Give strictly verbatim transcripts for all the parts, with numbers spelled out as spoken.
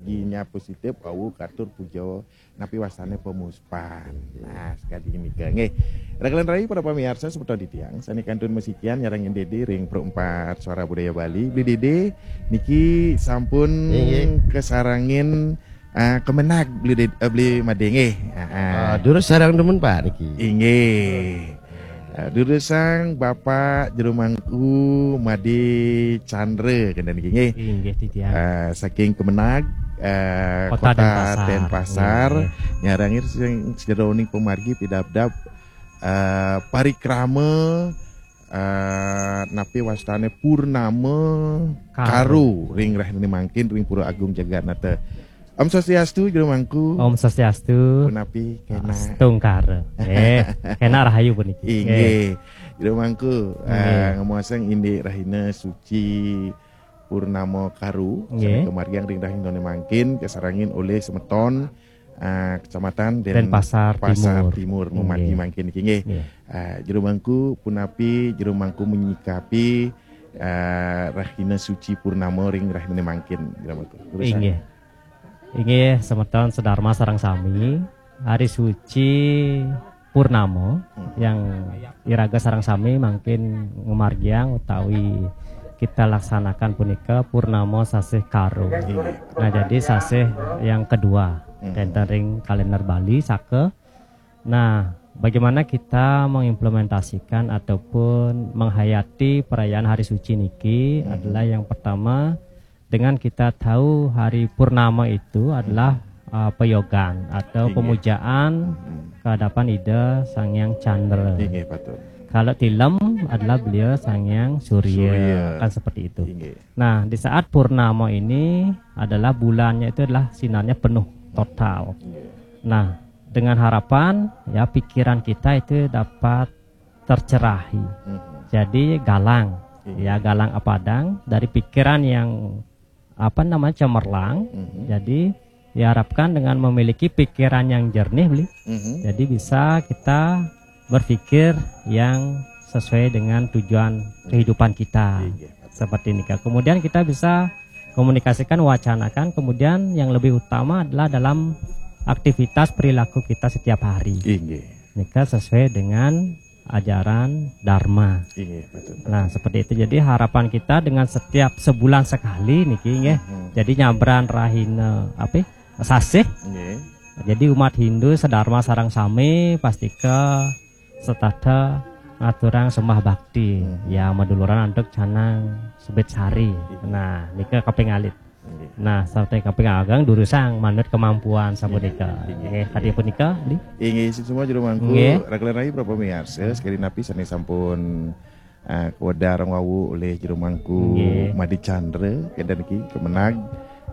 Inya positif, wau katur puja napi wastane pemuspan. Nah, sekadi nika nggih. Raglan rai para pamiarsa semeton titiang, sane kantun masikian nyarengin Dede ring Pro empat Suara Budaya Bali. Beli Dede niki sampun Nggih. Kasarengin, ah, Kemenag Beli Dede, eh, Beli Made nggih. Ah, ah. Ah, durus sareng demen, Pak, niki. Inggih. Ah, durusang Bapak Jero Mangku Made Chandra kenten niki nggih. Inggih, titiang. Ah, saking Kemenag, ah, Kota Kota Denpasar. Denpasar. Nggih. Nyarengin sing sajeroning pamargi pidabdab, ah, parikrama, ah, napi wastane Purnama Karo. Karo ring rahine mangkin ring Pura Agung Jagatnata. Om Swastiastu, Jero Mangku. Om Swastiastu. Punapi kena? Astungkara. Eh, kena rahayu puniki. Inggih. Jero Mangku, Nggih. Ah, ngamuasang indik rahina suci Purnama Karo, Nggih. Sane kamargiang ring rahinane mangkin, kasarengin olih semeton, ah, Kecamatan Den-, Denpasar Pasar Timur. Timur, Nggih. Mamargi mangkin niki nggih. Nggih. Ah, Jero Mangku, punapi Jero Mangku menyikapi, ah, rahina suci Purnama ring rahinane mangkin, Jero Mangku? Durusang. Inggih. Inggih, semeton sedharma sareng sami, hari suci Purnama Hmm. yang iraga sareng sami mangkin ngamargiang utawi kita laksanakan punika Purnama Sasih Karo. Inggih. Nah, jadi sasih yang kedua, Hmm. kenten ring kalender Bali, saka. Nah, bagaimana kita mengimplementasikan ataupun menghayati perayaan hari suci niki Hmm. adalah yang pertama, dengan kita tahu hari purnama itu adalah, uh, peyogan atau Inggih. pemujaan Hmm. ke hadapan Ida Sang Hyang Chandra. Inggih, patut. Kalau tilem adalah beliau Sang Hyang Surya, Surya. Kan seperti itu. Inggih. Nah, di saat purnama ini adalah bulannya itu adalah sinarnya penuh, total. Inggih. Nah, dengan harapan, ya, pikiran kita itu dapat tercerahi. Mhm. Jadi galang, Iya. ya, galang apadang dari pikiran yang, apa namanya, cemerlang. Mhm. Jadi diharapkan dengan memiliki pikiran yang jernih, Beli. Mhm. Jadi bisa kita berpikir yang sesuai dengan tujuan kehidupan kita. Iya. Seperti ini, Kak. Kemudian kita bisa komunikasikan, wacanakan. Kemudian yang lebih utama adalah dalam aktivitas perilaku kita setiap hari. Inggih. Nika sesuai dengan ajaran Dharma. Inggih, betul. Nah, seperti itu. Jadi harapan kita dengan setiap sebulan sekali niki nggih. Mhm. Jadi nyabran rahina apa? Sasih. Nggih. Jadi umat Hindu sedharma sareng sami pastika setata ngaturang sembah bakti. Mhm. Ya, maduluran antuk canang Subit Sari. Iya. Nah, nika kaping alit. Nggih. Nah, sarta kaping agang durusang manut kemampuan sapunika. Nggih. Nggih, kadi punika, Beli. Inggih, suksma Jero Mangku. Nggih. Raglan rai para pamiarsa, sekadi napi sane sampun, eh, kawedar wau olih Jero Mangku Nggih. Made Chandra, kenten niki Kemenag,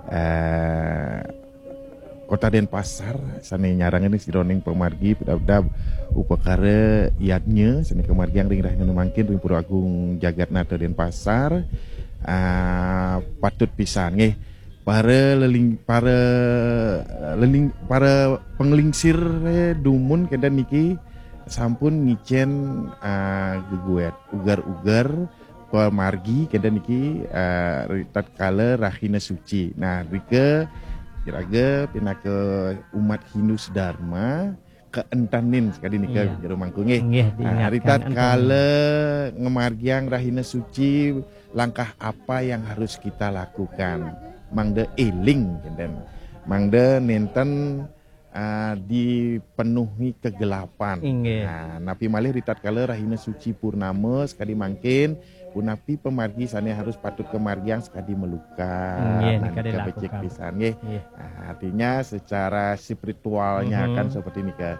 eh, Kota Denpasar, sane nyarengin sajeroning pamargi pidabdab upakara yadnya, sane kamargiang ring rahina mangkin ring Pura Agung Jagatnata Denpasar. Ah, patut pisan nggih. Para leling-, para, eh, leling-, para panglingsir, eh, dumun kenten niki sampun ngicen, ah, geguet ugar-ugar pamargi kenten niki, eh, ritatkala rahina suci. Nah, rika iraga pinaka umat Hindu sedharma kaentanin sekadi nika Iya. Jero Mangku nggih. Nggih, Nah, diingatkan ritatkala ngamargiang rahina suci, langkah apa yang harus kita lakukan? Mangda eling kenten. Mangda nenten, ah, dipenuhi kegelapan. Inggih. Nah, napi malih ritatkala rahina suci purnama sekadi mangkin, punapi pamargi sane harus patut kamargiang sekadi malukat. Inggih, Nah, nika nika becik dilakukan. Pisan nggih. Inggih. Nah, artinya secara spiritualnya Mhm. kan seperti nika.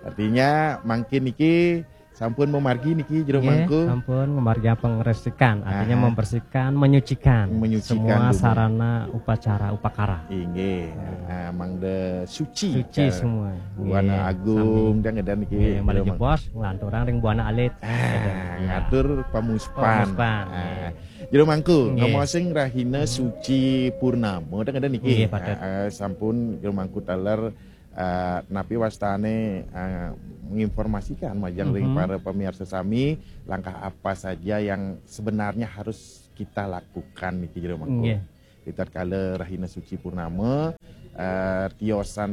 Artinya mangkin niki sampun mamargi niki Jero Nggih, Mangku. Sampun mamargi pangresikan, artinya Aha. membersihkan, menyucikan Menyucikan semua dumun. Sarana upacara upakara. Inggih. Nah, mangda suci. Suci Ka-, semua. Buana Nggih, Agung, sami. Dan ngedan niki Nggih, malih Jero Mangku. Jebos, nglanturang ring Buana Alit. Ah, Nggih. Ngatur pamuspan. Pamuspan, Ah, nggih. Jero Mangku, Nggih. Ngamuasing rahina suci purnama, dan ngedan niki. Nggih, patut. Ah, sampun Jero Mangku taler, eh, napi wastane, eh, menginformasikan majeng ring Mhm. para pemirsa sami, langkah apa saja yang sebenarnya harus kita lakukan niki Jero Mangku? Nggih. Di tatkala rahina suci purnama, eh, tiosan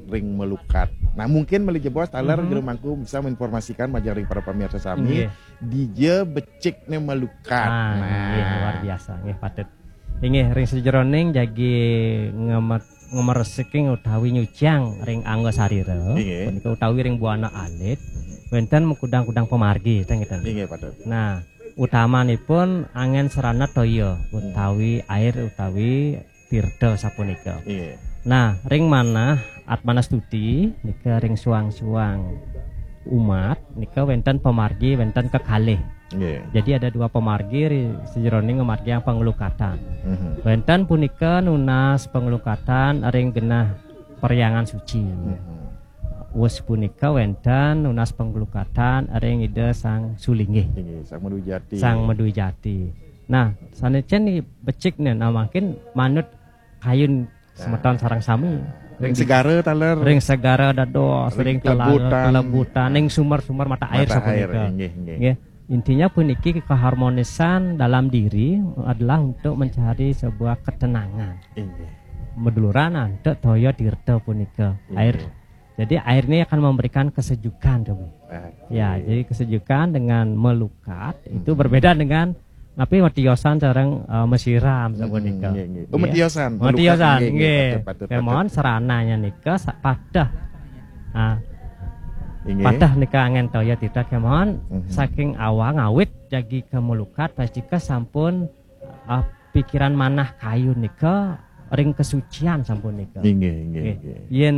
ring Melukat. Nah, mungkin malih jebos taler Mhm. Jero Mangku bisa menginformasikan majeng ring para pamirsa sami, Inggih. Dija becikne Melukat. Ah, Nah. Inggih, luar biasa. Inggih, patut. Inggih, ring sajeroning jagi ngemet-, ngemersiking utawi nyuciang ring angga sarira, Inggih. Punika utawi ring buana alit, wenten makudang-kudang pamargi, ten ngeten. Inggih, patut. Nah, utamanipun angen sarana toya, Hmm. utawi air, utawi tirta sapunika. Inggih. Nah, ring manah Atmanastuti nika ring suang-suang umat nika wenten pamargi, wenten kekalih. Inggih. Jadi ada dua pamargi ri sajeroning ngamargiang panglukatan. Mhm. Wenten punika nunas panglukatan ring genah perhyangan suci. Mhm. Wus punika wenten nunas panglukatan ring Ida Sang Sulinggih. Inggih, Sang Madwijati. Sang Madwijati. Nah, sane cen ni becik ne, nah, mangkin manut kayun semeton sareng sami. Ring segara taler. Ring segara dados, Ring ring telaga, kelebutan. Kelebutan, ring sumber-sumber mata air Mata air, sapunika. Inggih, inggih. Nggih. Intinya puniki keharmonisan dalam diri adalah untuk mencari sebuah ketenangan. Inggih. Maduluran antuk toya tirta punika. Inggih. Air. Jadi air ini akan memberikan kesejukan, Robi. Oke. Ya, jadi kesejukan dengan melukat itu Hmm. berbeda dengan napi matiosan sareng, eh, masiram sapunika. Hmm, nggih, nggih. Oh, Nggih. Matiosan, melukat, Matiosan, nggih, nggih, nggih. Patut, patut, Kemawon patut. Sarana nika sa-, patah. Ah, Inggih. Patah nika angen toya tirta kemawon Mhm. saking awang awit jagi kemelukat pastika sampun, ah, pikiran manah kayun nika ring kesucian sampun nika. Inggih, inggih, Nggih. Inggih. Yen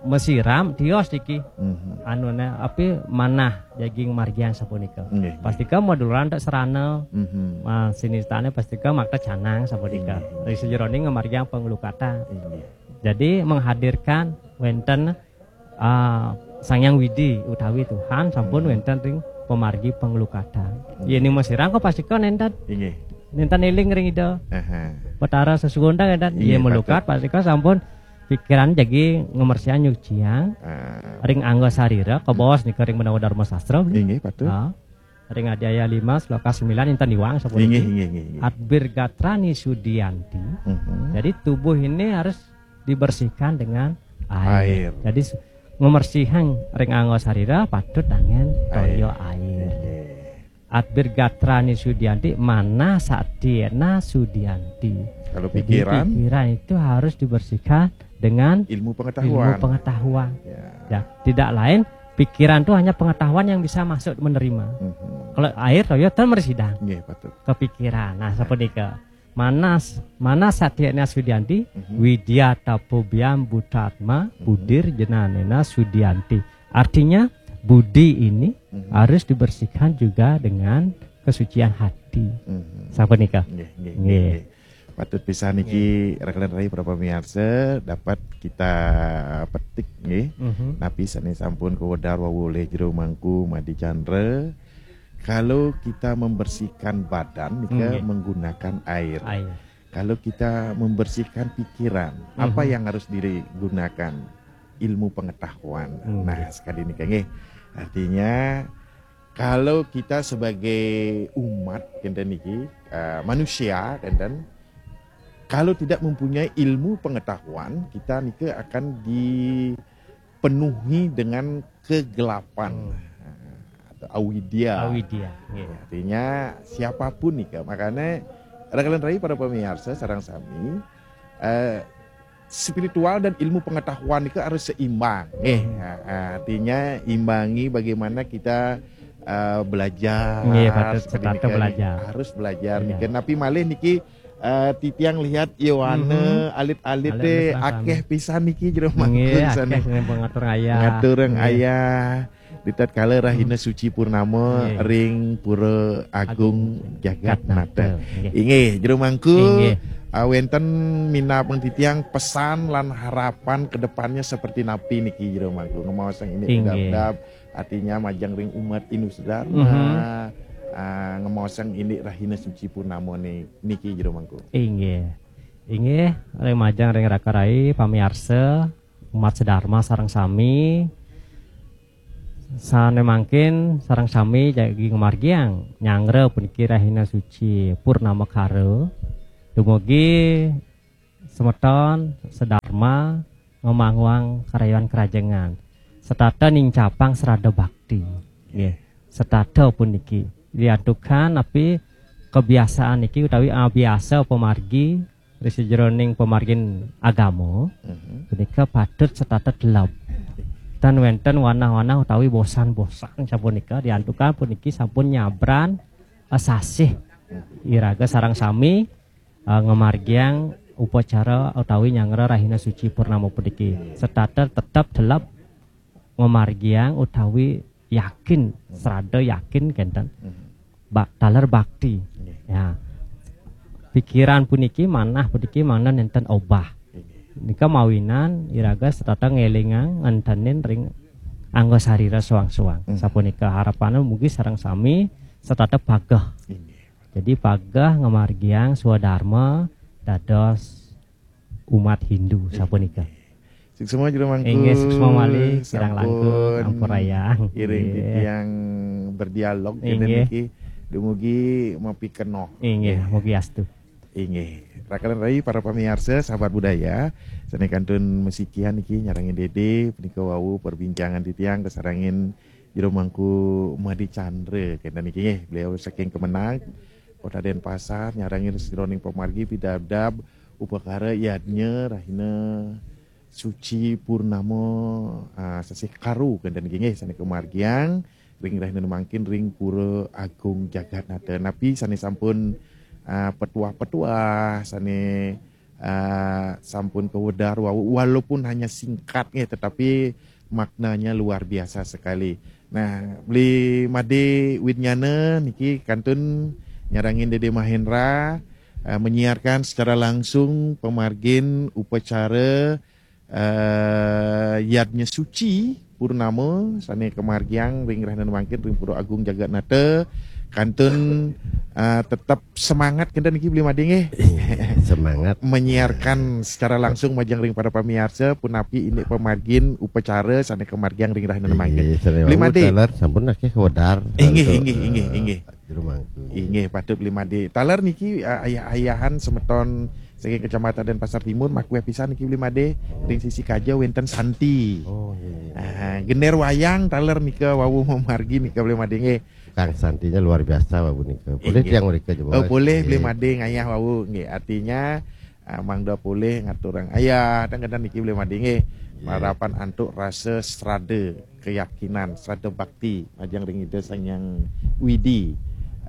masiram tios iki. Mhm. Anune api manah jagi ngamargiang sapunika. Nggih, nggih. Pastika maduluran tak sarana. Mhm. Ah, sinistane pastika makta canang sapunika. Inggih, inggih. Ring sajeroning ngamargiang panglukatan. Inggih. Jadi menghadirkan wenten, ah, Sang Hyang Widi utawi Tuhan sampun Mhm. wenten ring pamargi panglukatan. Inggih. Yen masiram kok pastika nenten. Inggih. Nenten eling ring Ida. Aha. Betara Sesuwun ta nenten. Inggih, Yen melukat patut. Pastika sampun pikiran jagi ngemersihan nyuciang Ah. ring angga sarira, kabaos nika ring menawa Dharma Sastra. Inggih, patut. Ah. Ring Adiaya lima, sloka sembilan, inten iwang sapuniki. Inggih, inggih, inggih, inggih. Atbir gatrani sudianti. Mhm. Jadi tubuh ini harus dibersihkan dengan air. Air. Jadi s-, ngemersihan ring angga sarira patut angen toya air. Inggih. Atbir gatrani sudianti, mana satyena sudianti. Kalau Jadi, pikiran? Pikiran itu harus dibersihkan dengan Ilmu pengetahuan. Ilmu pengetahuan. Ya. Ya, tidak lain, pikiran itu hanya pengetahuan yang bisa masuk menerima. Mhm. Kalau air, toya ten mresidang. Nggih, patut. Kepikiran. Nah, sapunika. Manas, manas satyena sudianti, Mhm. Widya tapobyam butatma, Mhm. budir jnanena sudianti. Artinya, budi ini Mhm. harus dibersihkan juga dengan kesucian hati. Mhm. Sapunika. Nggih, nggih, Nggih. Nggih. Patut pisan niki, Nggih. Rekan rai para pamirsa, dapat kita petik, nggih. Mhm. Napi sane sampun kawedar wau olih Jero Mangku Madi Chandra. Kalau kita membersihkan badan, nika Nggih. menggunakan air. Air. Kalau kita membersihkan pikiran, apa Mhm. yang harus digunakan? Ilmu pengetahuan. Nggih. Nah, sekali nika, nggih. Artinya, kalau kita sebagai umat, kenten niki, eh, manusia, kenten, kalau tidak mempunyai ilmu pengetahuan, kita nika akan dipenuhi dengan kegelapan. Hmm. Atau awidya. Awidya, nggih. Artinya, siapapun nika. Makanya, rekan rai para pamirsa, sareng sami, eh, spiritual dan ilmu pengetahuan itu harus seimbang. Eh, Hmm. ha, ha, artinya imbangi bagaimana kita, eh, belajar. Nggih, patut seperti setata niki, belajar. Harus belajar Iya. niki. Napi malih niki, eh, titiang lihat yowana Mhm. alit-alit Alit-alit deh, sareng sami. Akeh pisan niki Jero Mangku Nggih, sane. Akeh sing ngatur ayah. Ngatur Nggih. Ayah. Di tatkala rahina Hmm. suci purnama Nggih. ring Pura Agung Agung Jagat Jagat Nata. Nata. Nggih. Inggih, Jero Mangku, Inggih. Ah, wenten minab titiang pesan lan harapan ke depannya seperti napi niki Jero Mangku. Ngemaosang ini Inggih. Dab-dab, artinya majeng ring umat Hindu sedharma, Mhm. ah, ngemaosang ini rahina suci purnama ni-, niki Jero Mangku. Inggih. Inggih, ring majeng ring raka rai, pamiarsa, umat sedharma sareng sami. Sane mangkin sareng sami jagi ngamargiang nyanggra puniki rahina suci Purnama Kara. Dumugi semeton sedharma ngamanguang karayuan karajengan. Setata nincapang srada bakti. Nggih. Setata puniki. Diantukan napi kebiasaan niki utawi abiasa pamargi ri sajeroning pamargin agama, Mhm. punika patut setata teleb. Tan wenten wanah-wanah utawi bosan-bosan sapunika diantukan puniki sampun nyabran, eh, sasih iraga sareng sami, eh, ngamargiang upacara utawi nyanggra rahina suci purnama puniki. Setata tetep teleb ngamargiang utawi yakin, srada yakin kenten. Mhm. Ba-, taler bakti. Nggih. Ya. Pikiran puniki, manah puniki mangda nenten obah. Nggih. Nika mawinan iraga setata ngelingang ngentenin ring angga sarira soang-soang. Mhm. Sapunika harapannya mugi sareng sami setata pageh. Nggih. Jadi pageh ngamargiang swadharma dados umat Hindu sapunika. Suksma Jero Mangku. Inggih, suksma malih, kirang langkung, sampun ampurayang. Iring Nggih. titiang berdialog Inggih. kenten niki dumugi mapikenoh. Inggih, mugi astu. Inggih. Rakanan rai para pamiarsa, sahabat budaya, sane kantun masikian niki nyarengin Dede, punika wau perbincangan titiang kasarengin Jero Mangku Made Chandra kenten niki nggih. Beliau saking Kemenag, Kota Denpasar, nyarengin sajeroning pamargi pidabdab upakara yadnya rahina suci purnama, ah, sasih Karu kenten niki nggih sane kamargiang ring rahina mangkin ring Pura Agung Jagatnata. Napi sane sampun, ah, petuah-petuah, sane, ah, sampun kawedar wau, walaupun hanya singkat nggih, tetapi maknanya luar biasa sekali. Nah, Beli Made Widnyana niki kantun nyarengin Dede Mahendra, ah, menyiarkan secara langsung pamargin upacara, eh, Yadnya Suci Purnama sane kamargiang ring rahina mangkin ring Pura Agung Jagatnata. Kantun, eh, tetap semangat kenten niki Beli Made nggih. Iya, semangat. Menyiarkan secara langsung majeng ring para pamiarsa punapi indik pamargin upacara sane kamargiang ring rahina mangkin. Iya, sane Beli wau Made. Taler sampun akeh kawedar. Inggih, Untuk, inggih, inggih, eh, inggih. Jero Mangku. Inggih, patut Beli Made. Taler niki, eh, ayah-ayahan semeton saking Kecamatan Denpasar Timur, makueh pisan niki Beli Made. Ring sisi kaja wenten Santi. Oh, iya, iya. Ah, gender wayang taler nika wau mamargi nika Beli Made nggih. Kang Santinya luar biasa wau nika. Boleh Inggih. tiang mereka coba. Oh, boleh Beli Nggih. Made ngayah wau nggih. Artinya, ah, mangda polih ngaturang ayah, tang kenten niki Beli Made nggih. Iya. Marapan antuk rasa srada, keyakinan, srada bakti majeng ring Ida Sang Hyang Widi,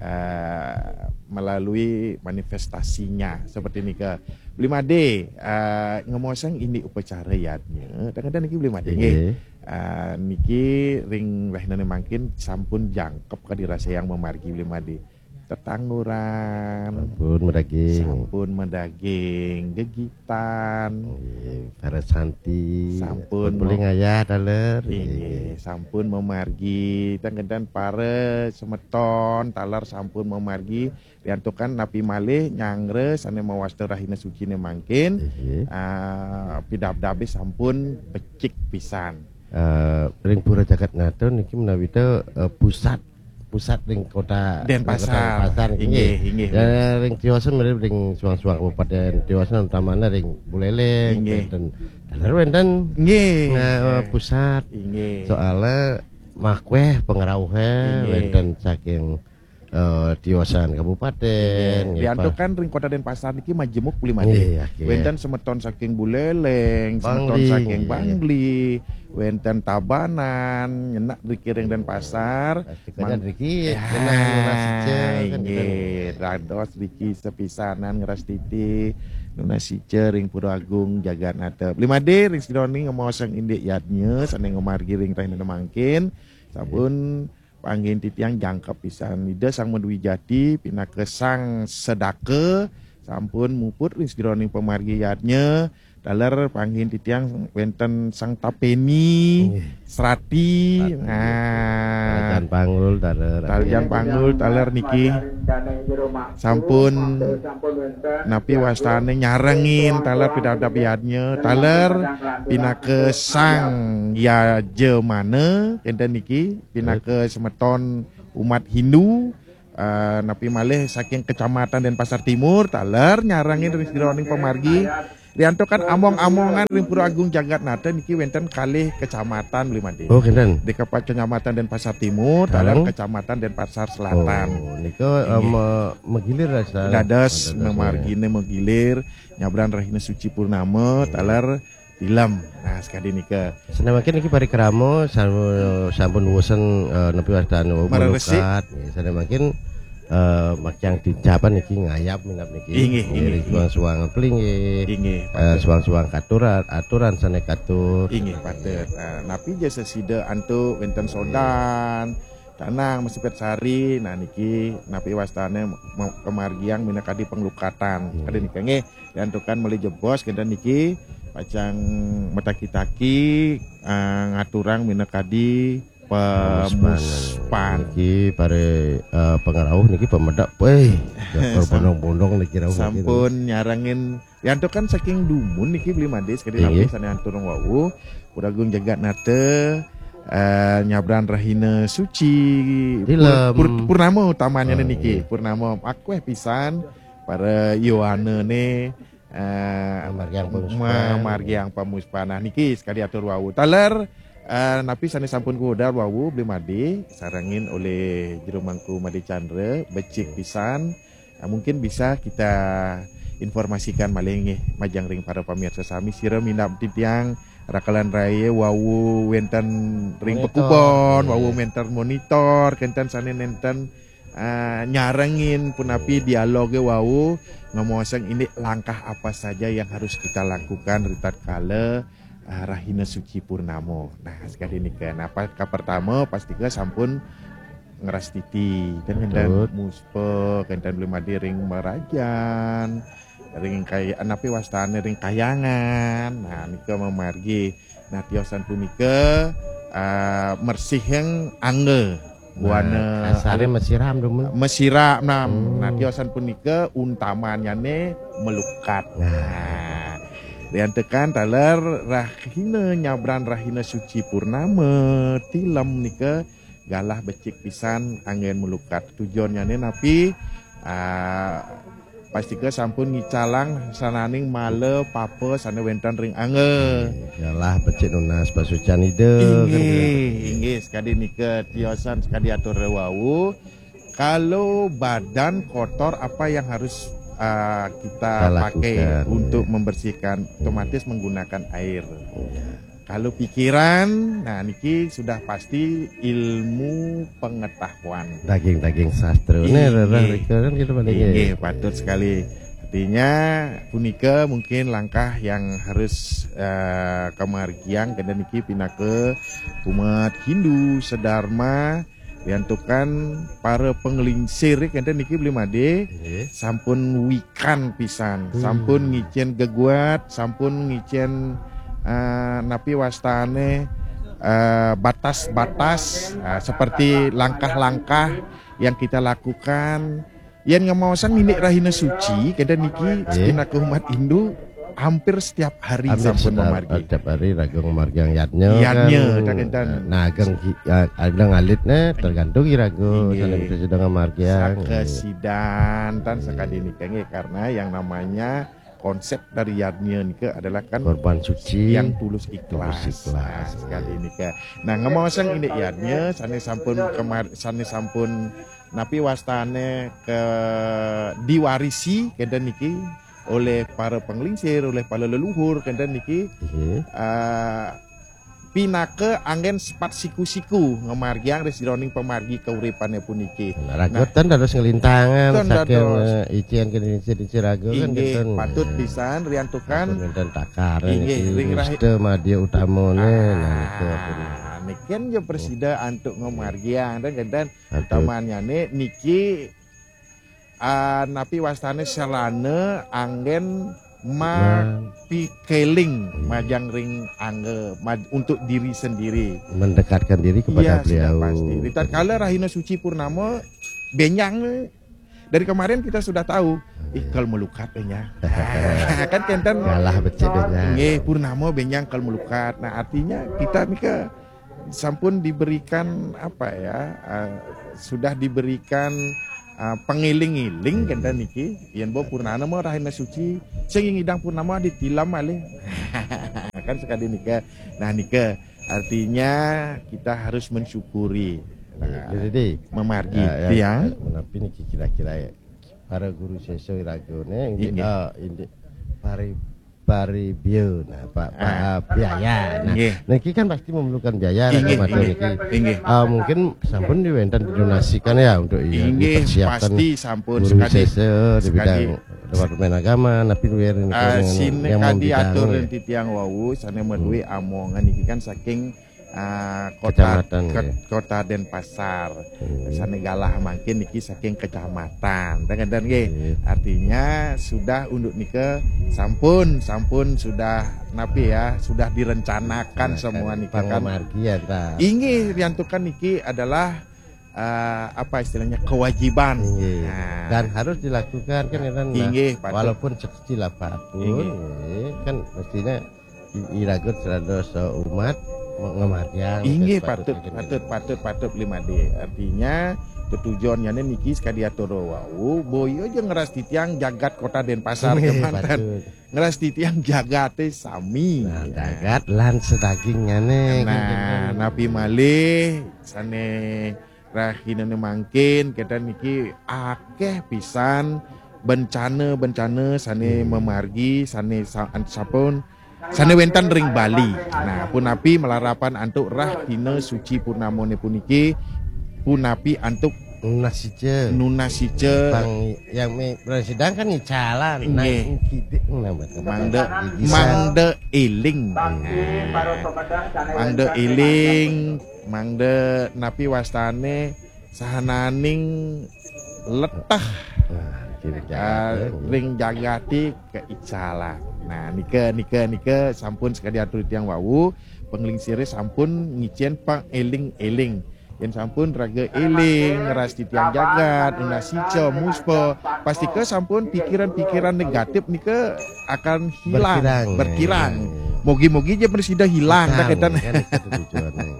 eh, melalui manifestasinya seperti nika. Beli Made, eh, ngemaosang indik upacara yadnya. Tang kenten niki Beli Made nggih. Nggih. Eh, niki ring rahinane mangkin sampun jangkep kadi rasa yang mamargi Beli Made. Tetangguran. Sampun madaging. Sampun madaging, gegitan. Nggih, para santi. Sampun Sampun mem- ngayah taler. Inggih, Nggih. sampun mamargi. Tang kenten para semeton taler sampun mamargi. Riantukan napi malih nyanggra sane mawasta rahina sucine mangkin. Nggih. Ah, pidabdabe sampun becik pisan. Eh, ring Pura Jagatnata niki menawi te, eh, pusat pusat ring kota Denpasar. Kota Denpasar, Inggih, inggih. Inggih. Dan ring tiosan mirip ring suang-suang kabupaten tiosan utamanya ring Buleleng, Inggih. wenten. Taler wenten. Nggih. Nah, eh, pusat. Inggih. Soalnya makueh pengerauhe Inggih. wenten saking, eh, tiosan kabupaten, Inggih. nggih, Pak. Diantukan ring kota Denpasar niki majemuk Beli Made. Nggih, oke. Wenten semeton saking Buleleng, semeton Bangli, saking nggih. Bangli, wenten Tabanan, nyenak riki ring Denpasar. Pasti kalian Mang- riki, Ya, kena nunas ica, kan, inggih. Dados riki sepisanan ngrastiti nunas ica ring Pura Agung Jagatnata. Beli Made ring sira niki ngemaosang indik yadnya sane ngamargi ring rahina mangkin. Sampun panggihin titiang jangkep pisan. Ida Sang Madwijati pinaka Sang Sedaka sampun muput ring sajeroning pamargi yadnya. Taler panggihin titiang wenten Sang Tapeni, Nggih. Srati. Srati. Nah. Talijan Panggul, taler. Talijan Panggul, taler niki. Sampun napi wastane nyarengin taler pidabdab yadnya, taler pinaka Sang Yajamana, kenten niki, pinaka semeton umat Hindu, eh, napi malih saking Kecamatan Denpasar Timur, taler nyarengin ring sira ring pamargi. Riantukan among-amongan ring Pura Agung Jagatnata niki wénten kalih kecamatan, Bli Made. Oh, kinten. Di Kepa-, Kecamatan Denpasar Timur, taler Kecamatan Denpasar Selatan. Oh, nika, eh, me-, megilir, Sar. Dados mamargine megilir, nyabran rahina suci purnama, taler tilem. Nah, sekadi nika. Sané mangkin niki parikrama sam-, sampun wusan, eh, napi wastane Maresik. Melukat. Ya, sané mangkin, eh, makyang tincapan niki ngayab minab niki. Inggih, inggih, Ngiring suang-suang pelinggih. Inggih, Eh, patut. suang-suang katuran, aturan sané katur. Inggih, patut. Nah, napi ja sesida antuk wénten sodan, tanang, mesepet sari, nah niki napi wastane me-, kemargiang minakadi penglukatan. Kadi nika nggih, riantukan malih jebos kinten niki pacang mataki-taki, eh, ngaturang minakadi pemuspan. Niki para, eh, pangrauh niki pamedek, wéh, jakar bondong-bondong niki rauh niki. Sampun nyarengin, riantukan saking dumun niki Bli Made sekadi Inggih. Napi sané anturung wau, Pura Agung Jagatnata, eh, nyabran rahina suci, Tilem. pur-, pur-, purnama utamanya Oh, niki, iya. purnama akueh pisan para yowanane, eh, Mamargiang pamuspan. Mamargiang pamuspan. Nah, niki sekadi atur wau. Taler, eh, napi sané sampun kawedar wau Bli Made, sarengin olih Jero Mangku Made Chandra, becik pisan. Nah, mungkin bisa kita informasikan malih nggih majeng ring para pamirsa sami, sira minab titiang rakelan raya wau wénten ring Monitor. Pekubon, Iya. Wau wénten monitor, kenten sané nénten, eh, nyarengin punapi dialoge wau, ngemaosang indik langkah apa saja yang harus kita lakukan ritatkala, eh, rahina suci purnama. Nah, sekadi nika. Nah, pa-, kapertama pastika sampun ngrastiti, kan kenten Patut. Muspa, kenten Bli Made ring marajan, ring kay-, napi wastane ring kayangan. Nah, nika mamargi. Nah, tiosan punika, eh, mersihing angga. Buana Nah, kasarnya mesiram dumun. Mesiram nam. Hmm. Nah, tiosan punika untamannyane melukat. Nah. Nah, riantukan taler rahina nyabran rahina suci purnama, tilem nika galah becik pisan anggen melukat. Tujuannyane napi? Ah, pastika sampun ngicalang sananing mala papa sane wenten ring angga. Galah becik nunas pasucan Ida, kan Inggih, gitu. Inggih, sekadi nika tiosan sekadi atur wau. Kalau badan kotor, apa yang harus, ah, kita Kita pakai lakukan, untuk ya. Membersihkan? Otomatis menggunakan air. Iya. Kalau pikiran, nah niki sudah pasti ilmu pengetahuan. Daging-daging sastra. Ini Inggih. Rerah Rika kan kita pada Inggih, patut sekali. Artinya punika mungkin langkah yang harus, eh, kamargiang kenten niki pinaka umat Hindu sedharma, riantukan para panglingsir kenten niki Bli Made Inggih. sampun wikan pisan, Hmm. sampun ngicen geguat, sampun ngicen, eh, napi wastane, eh, batas-batas, eh, seperti langkah-langkah yang kita lakukan. Yen ngemaosan indik rahina suci, kenten niki Nggih. pinaka umat Hindu hampir setiap hari Hampir sampun setiap, mamargi. setiap hari raga ngamargiang yadnya, Yadnya, kan. tak kenten. Nah, ageng ki-, ah, ada ngalit ne, tergantung iraga. Inggih. Sana bisa sedang ngamargiang. Sakesidan tan sakadi nika nggih, karena yang namanya konsep dari yadnya nika adalah kan Korban suci. yang tulus ikhlas. Tulus ikhlas. Nah, sekadi nika. Nah, ngemaosan indik yadnya sane sampun kemar-, sane sampun napi wastane ke diwarisi kenten niki oleh para panglingsir, oleh para leluhur kenten niki, Inggih. eh, pinaka anggen sepat siku-siku ngamargiang ring sajeroning pamargi kauripane puniki. Nah, raga tan dados ngelintangan Tan saking, dados. Eh, icen ke icen-icen raga kan Inggih, kenten. patut pisan riantukan. Ampun wenten takar Inggih, niki ring rahi- nista madya utamane, nah, niku ampun. Ah, niki kan ya presida antuk ngamargiang dan kenten Patut. utamanyane niki, ah, napi wastane sarana anggen ma Nah. pikeling Iya. majang ring angga maj-, untuk diri sendiri. Mendekatkan diri kepada Iya, sudah beliau. Pasti. Ritatkala rahina suci purnama, benjang dari kemarin kita sudah tahu, ih, kal melukat benjang. Kan kenten. Galah becik benjang. Nggih, purnama benjang kal melukat. Nah, artinya kita nika sampun diberikan apa ya? Eh, sudah diberikan, ah, pangiling-iling kenten niki, yen bo purnama rahina suci, sing ngidang purnama ditilem malih. Kan sakadi nika. Nah, nika artinya kita harus mensyukuri. Nah, jadi, mamargi, ya, ya, tiang. Menapi niki kira-kira ya? Para guru sesa iragane, indik, inggih, eh, indik pari-, paribio, nah, pa-, pa-, ah, biaya. Nah, inggih, niki kan pasti memerlukan biaya, inggih, mata inggih, niki. Inggih. Ah, mungkin sampun diwenten didonasikan ya untuk, iya, inggih, dipersiapkan pasti sampun guru sekadi, sesa di sekadi bidang Departemen Agama, napi luwih, ah, yang, sine yang kadi membidang, atur ya. Titiang wau, sane meduwe, hmm, amongan niki kan saking ah, kota, kecamatan, ke-, ya, Kota Denpasar. Hmm. Sane galah mangkin niki saking kecamatan. Tengeden nggih. Iya. Artinya sudah unduk nika sampun, sampun sudah napi ya, sudah direncanakan semua niki kan. Pangamargi ya, ta. Inggih, riantukan niki adalah, eh, apa istilahnya, kewajiban. Inggih. Nah. Dan harus dilakukan kan, ya kan? Nah, inggih, patut. Walaupun sekecil apapun, inggih, inggih, kan mestinya i-, iraga serados umat me-, ngamargiang. Inggih, patut, patut, patut, patut, Bli Made. Artinya, tetujonnyane niki sakadi atur wau, boya ja ngrastitiang jagat Kota Denpasar, inggih, kemanten patut. Ngrastitiang jagate sami. Nah, ya, jagat lan sedagingnyané. Nah, napi malih sane rahinane mangkin, kenten niki akeh pisan bencana-bencana sane, hmm, mamargi, sane sa-, sampun, sane wenten ring Bali. Nah, punapi malarapan antuk rahina suci purnamane puniki, punapi antuk nunas ica. Nunas ica. Pang yang me-, sedangkan ngicalan. Nah, inggih. Kidik nambah. Mangda, bisa, mangda eling. Nah, mangda eling, mangda napi wastane sahananing leteh. Nah, kira-kira, ah, ring jagate keicalan. Nah, nika, nika, nika sampun sakadi atur tiang wau, panglingsire sampun ngicen pangeling-eling. Yen sampun raga eling, ngrastitiang jagat, nunas ica, muspa, pastika sampun pikiran-pikiran negatif nika akan hilang, berkurang, berkurang. Ya, ya, ya. Mugi-mugi ja prasida hilang, dah, betul, kenten. Kan itu tujuannya.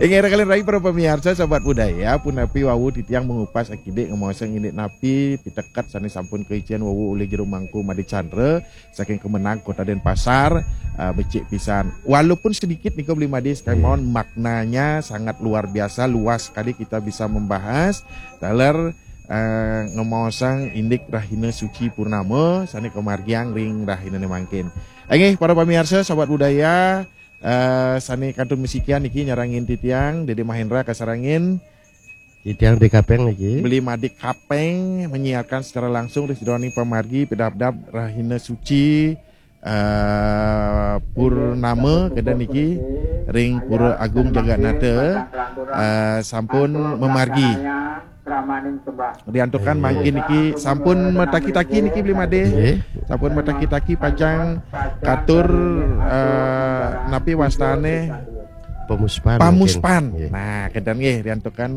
Inggih, raka lan rai para pamiarsa, sahabat budaya, punapi wau titiang mangupas akidik ngemaosang indik napi piteket sane sampun kaicen wau olih Jero Mangku Made Chandra saking Kemenag Kota Denpasar, eh, becik pisan. Walaupun sedikit nika, Bli Made, sekalian, iya, mawon maknanya sangat luar biasa, luas sekali kita bisa membahas. Taler, eh, ngemaosang indik rahina suci purnama sane kamargiang ring rahinane mangkin. Inggih, para pamiarsa, sahabat budaya, eh, sane kantun masikian niki nyarengin titiang, Dede Mahendra kasarengin. Titiang Dek Kapeng niki. Beli Madik Kapeng menyiarkan secara langsung ring sidaning pamargi pidabdab rahina suci, eh, purnama kenten niki ring Pura Agung Jaganata, eh, sampun mamargi. Diantukan, iya, mangkin niki sampun mataki-taki niki, Beli Made. Nggih. Sampun mataki-taki pacang katur, eh, napi wastane? Pamuspan, pamuspan, mungkin. Nggih. Nah, kenten nggih, diantukan,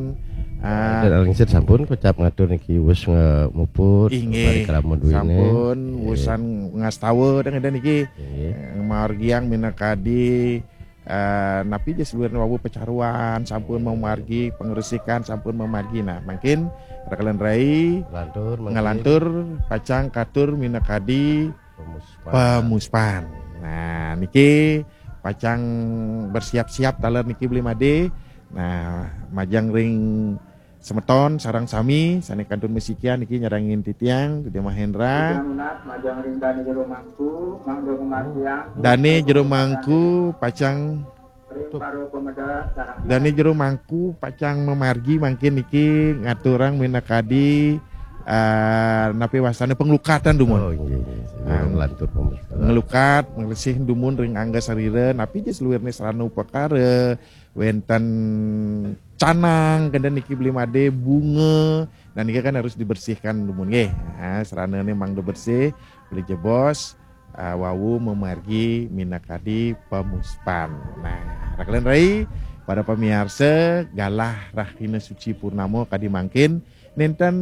eh, dan alingsir sampun kocap ngatur niki wus ngemuput, inggih, parikrama duwine. Sampun, nggih, wusan ngastawa, kenten niki. Nggih. Eh, margiang minakadi, eh, napi ja saluiring wau pacaruan, sampun mamargi, pangresikan sampun mamargi. Nah, mangkin raka lan rai ngalantur, mangkin, ngalantur pacang katur minakadi pamuspan. Pamuspan. Nah, niki pacang bersiap-siap taler niki, Beli Made. Nah, majeng ring semeton sareng sami sane kantun masikian niki nyarengin titiang, Dede Mahendra. Titiang nunas majeng ring Dane Jero Mangku, mangda ngamargiang. Dane Jero Mangku pacang, Dane Jero Mangku pacang mamargi mangkin niki ngaturang minakadi, eh, napi wastane panglukatan dumun. Oh, inggih, inggih. Ah, nglantur pamuspan. Nglukat, ngresih dumun ring angga sarira, napi ja saluirne sarana upakara, wenten canang, kenten niki, Beli Made, bunga. Nah, niki kan harus dibersihkan dumun nggih. Nah, saranane mangda bersih, beli jebos, ah, wau mamargi minakadi pamuspan. Nah, raka lan rai, para pamiarsa, galah rahina suci purnama kadi mangkin, nenten,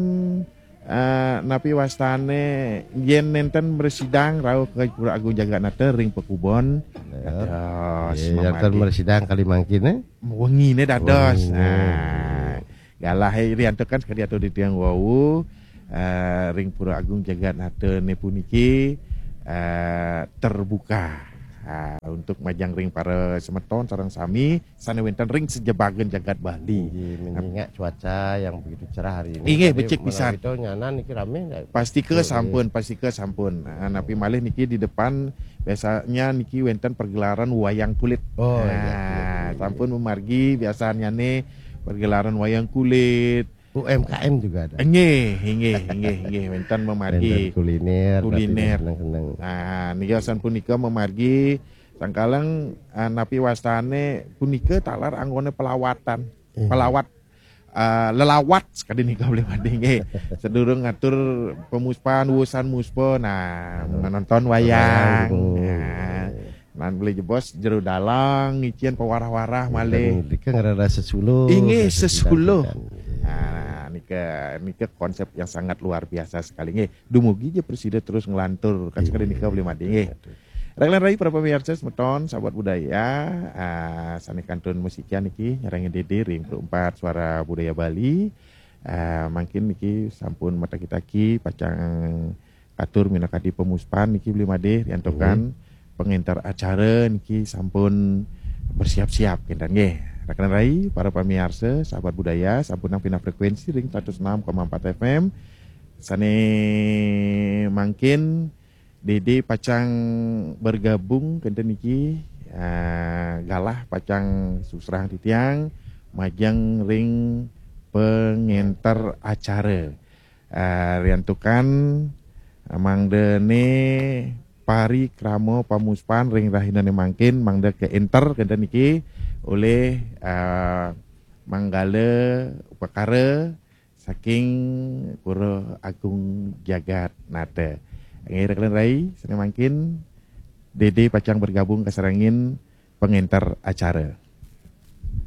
eh, napi wastane, yen nenten mrasidang rauh ka Pura Agung Jaganata ring pakubon. Ya. Dados, nggih, yen nenten mamargi. Mrasidang kali mangkin, eh? Wengine dados. Wengine. Nah, Galah, eh, riantukan sakadi atur titiang wau, eh, ring Pura Agung Jagat Nata ne puniki, eh, terbuka, eh, untuk majeng ring para semeton sareng sami sane wenten ring sajebagan jagat Bali. Inggih, mengingat cuaca yang begitu cerah hari ini. Inggih, Tadi becik pisan. Itu nyanan niki rame. Pastika sampun, pastika sampun. Nah, napi malih niki di depan biasanya niki wenten pergelaran wayang kulit. Oh, Nah, iya, iya, iya. Sampun mamargi biasanyane pergelaran wayang kulit. U M K M juga ada. Inggih, inggih, inggih, inggih, wenten mamargi. Wenten kuliner, Kuliner. Seneng-seneng. Nah, niki sampun punika mamargi sangkaleng, eh, napi wastane punika taler anggone pelawatan. Iya. Pelawat, eh, lelawat sakadi nika Bli Made nggih. Sedurung ngatur pemuspan wusan muspa, nah, nonton wayang. Wayang. Nah, nan beli jebos jero dalang ngicen pewarah-warah malih. Dika ngarana sesuluh. Inggih, Ngarana sesuluh. Sesuluh. Nah, nika nika konsep yang sangat luar biasa sekali nggih. Dumugi ja presida terus nglantur kan sekali nika Bli Made nggih. Rek lan rai para pamirsa semeton sahabat budaya, ah, sane kantun musikian niki nyarengin Dede ring Pro empat Suara Budaya Bali. Ah, mangkin niki sampun mataki-taki pacang katur minakadi pemuspan niki Bli Made riantukan pengenter acara niki sampun bersiap-siap kinten nggih. Rek lan rai para pamirsa sahabat budaya sampun nang pindah frekuensi ring seratus enam koma empat F M. Sane mangkin Dede pacang bergabung kenten niki, ah, galah pacang susrahang titiang majeng ring pengenter acara. Ah, riantukan, ah, mangdane parikrama pamuspan ring rahinane mangkin mangda kaenter kenten niki olih, ah, manggala upakara saking Pura Agung Jagat Nata. Nggih, rek lan rai, sane mangkin Dede pacang bergabung kasarengin pengenter acara.